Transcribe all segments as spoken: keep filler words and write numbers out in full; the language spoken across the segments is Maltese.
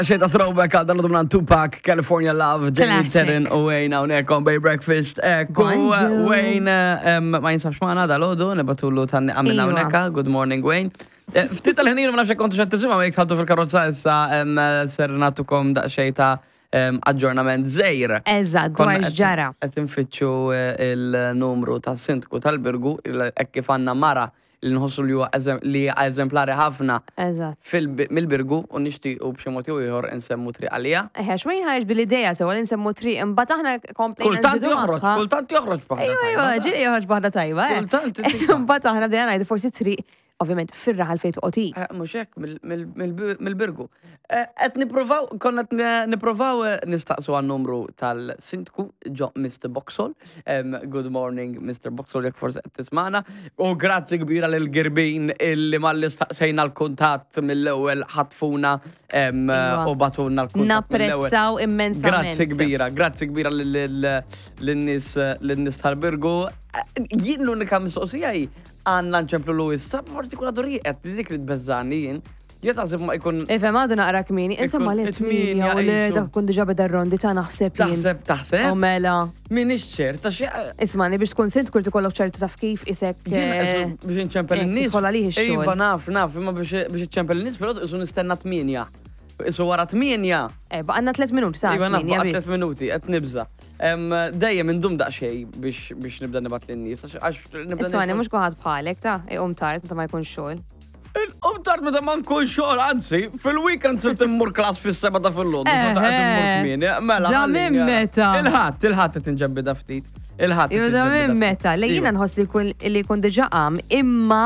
Xejta throwback għal dal minn Tupac, California Love, Jamie Classic. Terren u Wayne hawnhekk on Bay Breakfast. Ekku, Bonġu. Wayne em, ma jinsabx magħna dal-għodu, nibagħtulu tgħanniqa minn Iva. hawnhekk. Good morning, Wayne. Eh, Ftit tal-ħin ma nafx kontu xed tisimgħu jekk tħaddu fil-karozza issa em, ser nagħtukom daqsxejn ta' em, aġġornament żgħir. Eżatt, dwar Konna qed- x'ġara. Qed infittxu eh, il-numru ta' sindku tal-Birgu, il- hekk kif għandna mara li nħossu li huwa eżem- li hija eżemplari ħafna Eżatt. fil- mill-Birgu u nixtiequ b'xi mod jew ieħor insemmu triq għalija. Eħe, xwejn ħareġ bil-ideja sewa li nsemmu triq, imbagħad aħna komplejna Kultant nżidu joħroġ, magħha. kultant joħroġ b'waħda Ejwa, ejwa, tajba. ġieli joħroġ b'waħda tajba, eh. Kultant titika. Imbagħad aħna bdejna ngħidu forsi triq, ovvjament fir-raħal fejn toqgħod. Eh, Mhux hekk mill- mill- mill- mill-Birgu. Eh, Qed nippruvaw, konna qed ne- nippruvaw eh, nistaqsu għan-numru tal-sindku ġo Mister Boxall. Em, Good morning, Mister Boxall, jekk forsi qed tismana. U grazzi kbira lil Girbin illi malli staqsejna l-kuntatt mill-ewwel ħatfuna em, Iva. u bagħtulna l-kuntatt mill-ewwel. Napprezzaw immensament. Grazzi kbira, grazzi kbira lin-nies lin-nies tal-Birgu. Eh, Jien l-unika mistoqsija hi għandna nċemplu lu issa, forsi kun għadu rieqed, dik li tbeżżani jien. Jien taħseb ma jkun Ifhem, għadu naqra kmieni, insomma Ikun li it-tmienja tmienja u li qisu. dak kun diġà beda r-rondi ta' naħseb jien. Taħseb, taħseb. U mela. Minix ċert, ta' xi. Ismani, biex tkun sint kur tikollok ċertu taf kif isek. Jien eh, eżu biex nċempel eh, in-nies. tidħol għalih ix-xogħol. Iva, naf, naf, imma biex biex iċċempel in-nies, però isu nistenna tmienja. Isu wara tmienja. Eh, baqgħanna tliet minuti sa' Iva, naf, tmienja baqa' tliet biss. minuti, qed nibża. Em, Dejjem indum daqsxejn biex biex nibda nibgħat lin-nies, għax għax nibda Ismani, nifhem- mhux kulħadd bħalek ta' iqum tard meta ma jkunx xogħol. Il-qum tard meta ma nkun xogħol, anzi, fil-weekend sirt immur class fis-seba ta' fil-loddu, Eħe. qed immur kmieni, mela. Da ħallini, minn ara. meta? Il-Ħadd, il-Ħadd qed inġebbida ftit. Il-Ħadd. qed Iva, da inġebbida minn ftit. meta, li jiena Iva. nħoss li jkun li jkun diġà qam, imma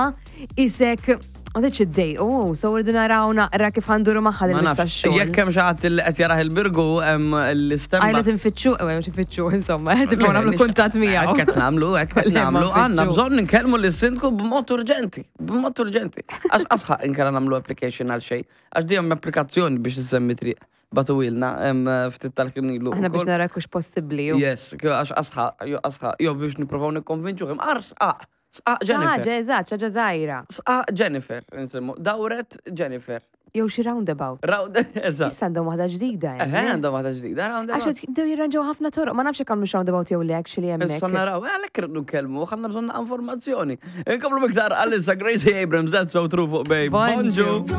isek ma tridx iddejqu, oh, so rridu naraw naqra kif ħa nduru magħha Ma din nafx, tax-xogħol. jekk hemm xi ħadd li qed jarah il-Birgu hemm l-istemma. Għajlu tinfittxu, u mhux tinfittxu, insomma, tibqgħu nagħmlu kuntatt miegħu. Hekk qed nagħmlu, hekk qed Le, ma nagħmlu. Għandna nfittxu. bżonn nkellmu lis-sindku b'mod urġenti, b'mod urġenti. Għax asħaq inkella nagħmlu application għal xejn. Għax dejjem applikazzjoni biex issemmi triq. Bagħtuhielna hemm ftit tal-knilu. Aħna biex nara kux possibbli. ju. Yes, għax asħaq, jo asħaq, jo biex nippruvaw nikkonvinċu kemm ar sqaq, sqaq Jennifer. Ħaġa, eżatt, ħaġa żgħira. Sqaq Jennifer, nsemmu, dawret Jennifer. Jew xi roundabout. Round, eżatt. Issa għandhom waħda ġdida. Eħe, hemm, le? għandhom waħda ġdida, roundabout. Għax qed jibdew jirranġaw ħafna toroq, ma nafx jekk għamlu roundabout jew le actually Issa hemmhekk. naraw, eh, għalhekk irridu nkellmu, għandna bżonn informazzjoni. Inkomplu miktar għalissa Gracie Abrams, That's So True fuq Bay. Bonġu. Bonġu.